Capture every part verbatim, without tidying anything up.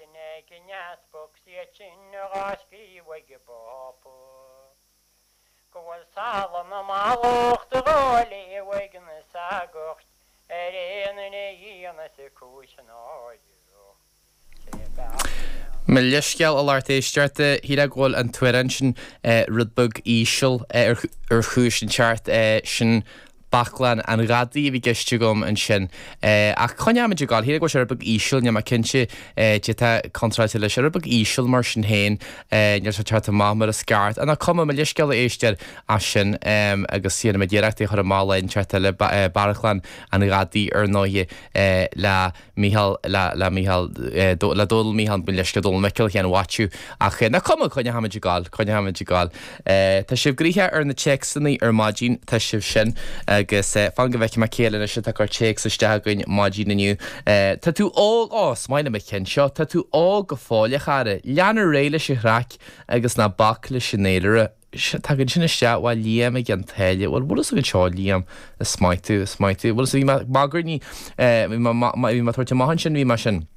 sin ag an easpag 's iad sin dhá scríobh ag an bPápa. Go bhfuil salann na mallacht dhá léamh ag na sagairt ar aon duine a dhéanfas cúis náire. Sé bealach Mo leithscéal a lucht éisteachta, shílfeá go bhfuil an t-amhrán sin rud beag íseal ar chúis inteacht, sin Baclainn an Ghadaí a bhí i gceist agam ansin. Ach coinneoimid ag gabháil, shílfeá go bhfuil sé rud beag íseal, níl mé cinnte cad é atá contráilte leis, rud beag íseal mar sin féin, níl sé ag teacht amach mar is ceart. Ach nach cuma, mo leithscéal a éisteoir as sin agus déanfaidh muid iarracht é a chur amach lá inteacht eile, Baclainn an Ghadaí ar ndóighe le Mícheál, le, le Mícheál, le Dónal Mícheál, mo leithscéal, Dónal Micil Sheáin Mhaitiú. Ach nach cuma, coinneoimid ag gabháil, coinneoimid ag gabháil. Tá sibh gnoitheach ar na téacsanna ar maidin, tá sibh sin, agus fan go bhfeicfidh mé cé eile anois atá ag cur téacs isteach againn maidin inniu. Tá tú óg, ó, is maith liom an ceann seo, tá tú óg go fóill a chara, lean ar aghaidh leis an chraic agus ná bac leis an fhéilire. Tagann sin isteach ó Liam i gCionn tSáile. Bhuel, bhfuil fhios agat seo, Liam, is maith tú, is maith tú. Bhfuil fhios, bhí mé ag magairní, bhí mé, bhí mé ag tabhairt amach ansin, bhí mé sin,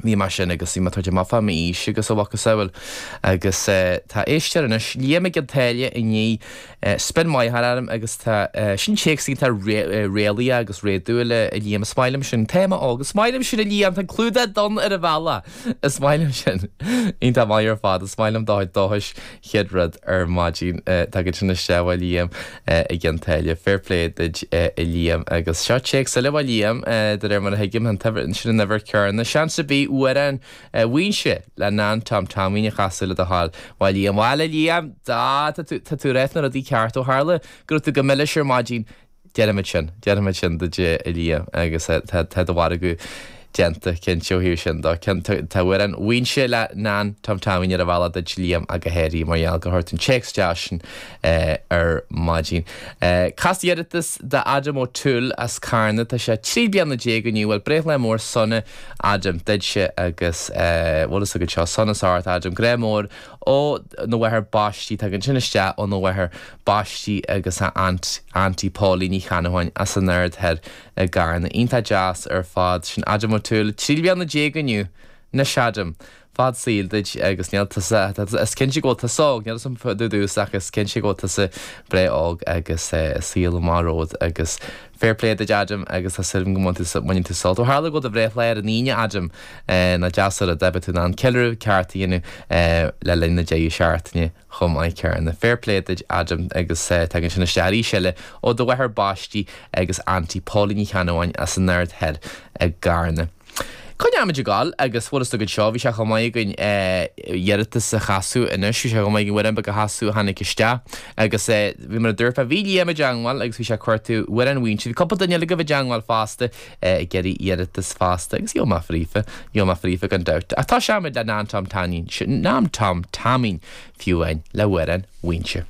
bhí mé sin agus bhí mé ag tabhairt amach fá m'aois agus a mhacasamhail. Agus tá éisteoir anois, Liam i gCionn tSáile i ndiaidh spin maith a chur orm agus tá, sin téacs iontach réalaíoch agus réadúil a Liam, is maith liom sin. Tá mé óg, is maith liom sin a Liam, tá an clúdach donn ar an bhealach, is maith liom sin. Iontach maith ar fad, is maith liom do chuid dóchais. Chéad rud ar maidin tagann sin isteach ó Liam i gCionn tSáile. Fair play duit a Liam. Agus seo téacs eile ó Liam, de réir mar a thuigim, an t-uimhir, sin an uimhir céanna. Seans ar bith amhrán Mhaínse le Nan Tom Taimín a chasadh le do thoil. Bhuel Liam, bhuel a Liam, tá tú, tá tú ag rá na rudaí ceart ó tharla go raibh tú go milis ar maidin. Déanfaimid sin, déanfaimid sin duit a Liam agus tá, tá do mhargadh déanta, cinnte, ó thaobh sin de. Tá amhrán Mhaínse le Nan Tom Taimín ar an bhealach duit Liam ach go háirithe mar gheall gur chuir tú an téacs deas sin ar maidin. Cas iarratas d'Adam O'Toole as Carna, tá sé trí bliana déag inniu, bhuel breithlá mór sona Adam duitse agus bhfuil fhios agat seo, sonas ort Adam, grá mór ó na mháthair baistí, tagann sin isteach óna mháthair baistí agus a aunt, Auntie Pauline Ní Cheannabháin as an Aird Thoir i gCarna. Iontach deas ar fad. Sin Adam O'Toole, trí bliana déag inniu. Anois Adam, fad saoil duit agus níl tusa, is cinnte go bhfuil tusa óg, níl fhios agam fá dtaobh duit ach is cinnte go bhfuil tusa breá óg agus saol amach romhat agus fair play duit Adam agus tá súil agam go mbaineann tú sult. Ó tharla go bhfuil do bhreithlá ar an Aoine Adam, nach deas an rud é, beidh tú in ann ceiliúradh ceart a dhéanamh le linn na deireadh seachtaine chomh maith céanna. Fair play duit Adam agus tagann sin isteach arís eile ó do mháthair baistí agus Auntie Pauline Ní Cheannabháin as an Aird Thoir i gCarna. Coinneoimid ag gabháil agus bhfuil fhios agat seo, bhí sé chomh maith againn iarratas a chasadh anois, bhí sé chomh maith againn amhrán beag a chasadh a tháinig isteach agus bhí mar a dúirt mé, bhí Liam i dteangmháil agus bhí sé ag cuartú amhrán Mhaínse, bhí cúpla duine eile agaibh i dteangmháil fosta ag iarraidh iarratas fosta agus gheobhaidh mé fríofa, gheobhaidh mé fríofa gan dabht. Ach tosóimid le Nan Tom Taimín, Nan Tom Taimín fiú amháin le amhrán Mhaínse.